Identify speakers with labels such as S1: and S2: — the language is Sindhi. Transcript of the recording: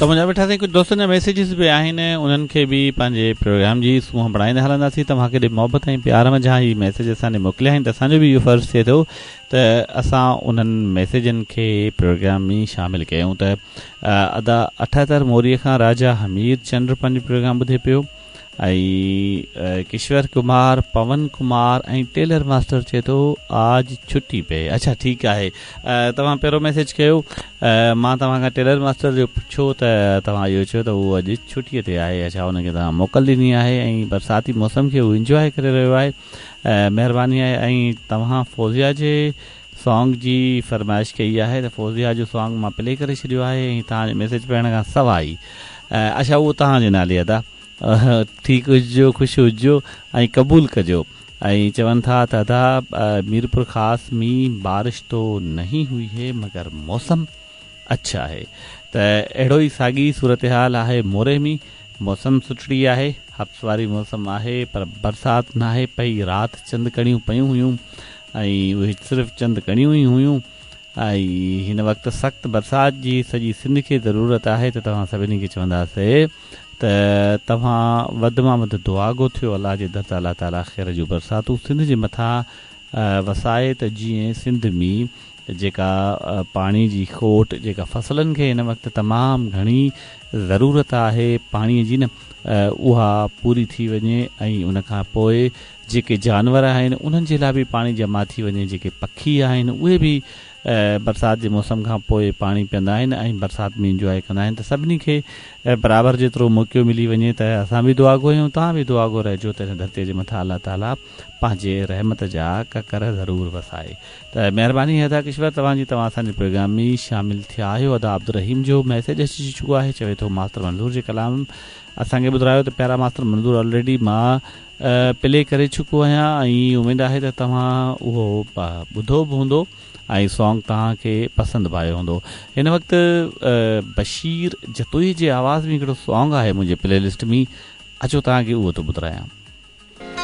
S1: ته منهنجا مٺا سائين ڪجهه دوستن جا ميسيجز به آهن انهن کي به پنهنجي پروگرام جي سونهن بڻائيندا هلنداسين توهان ڪيڏي محبت ۽ پيار منجهان هي ميسيج اسان ڏي موڪليا آهن ته اسان جو به اهو فرض ٿئي ٿو ته اسان انهن ميسيجن کي پروگرام ۾ شامل ڪيون ته ادا 78 موري کان راجا حمير چنڊ پنهنجو پروگرام ٻڌي پيو ۽ ڪشور ڪمار پون ڪمار ۽ ٽيلر ماسٽر چئي ٿو آج ڇٽي پي اڇا ٺيڪ آهي توهان پهريون ميسيج ڪيو مان توهان کان ٽيلر ماسٽر جو پڇيو ته توهان اهو چيو ته هو اڄ ڇٽي تي آهي اڇا ان کي توهان موڪل ڏني آهي ۽ برساتي موسم کي هو انجواء ڪري رهيو آهي مهرباني آهي ۽ توهان فوزيا جي سانگ جي فرمائش ڪئي آهي ته فوزيا جو سانگ مان پلي ڪري ڇڏيو آهي ۽ توهان جو ميسيج پڙهڻ کان سواء ئي اڇا اهو توهان جي نالي ادا ٺيڪ هججو خوش هججو ۽ قبول ڪجو ۽ چون ٿا ته ادا ميرپور خاص ۾ بارش تو نهين هئي هي مگر موسم اڇا آهي ته اهڙو ئي ساڳي صورتحال آهي موري ۾ موسم سٺڙي آهي حبس واري موسم آهي پر برسات ناهي پئي رات چند ڪڻيون پيون هيون ۽ اهي صرف چند ڪڻيون ئي هيون ۽ هن وقت سخت برسات جي سڄي سنڌ کي ضرورت آهي ته توهان سڀني کي چونداسي ته توهان وڌ مان وڌ دعاگو ٿيو الله جي در ته الله تعالي خير جون برساتون سنڌ جي مٿان وسائي ته جيئن سنڌ ۾ جيڪا پاڻي جي کوٽ جيڪا فصلن کي هن وقت تمام گهڻي ضرورت آهي پاڻي جي نه اها پوري ٿي وڃي ۽ ان کان پوء جيڪي جانور آهن انهن جي لاء به پاڻي جمع ٿي وڃي جيڪي پکي آهن اهي به برسات جي موسم کان پوء پاڻي پيئندا آهن ۽ برسات ۾ انجواء ڪندا آهن ته سڀني کي برابر جيترو موقعو ملي وڃي ته اسان به دعاگو آهيون توهان به دعاگو رهجو ته هن ڌرتي جي مٿان الله تعالي پنهنجي رحمت جا ڪڪر ضرور وسائي ته مهرباني ادا ڪشور توهان جي توهان اسان جي پروگرام ۾ شامل ٿيا آهيو ادا عبدالرحيم جو ميسيج اچي چڪو آهي چوي ٿو ماستر منظور جي ڪلام اسان کي ٻڌرايو ته پيارا ماستر منظور آلريڊي مان پلي ڪري چڪو آهيان ۽ اميد آهي ته توهان اهو ٻڌو به هوندو ۽ سانگ توهان کي پسند به آيو هوندو هن وقت بشير جتوئي جي آواز ۾ هڪڙو سانگ آهي منهنجي پلي لسٽ ۾ اچو توهان کي اهو ٿو ٻڌرايان.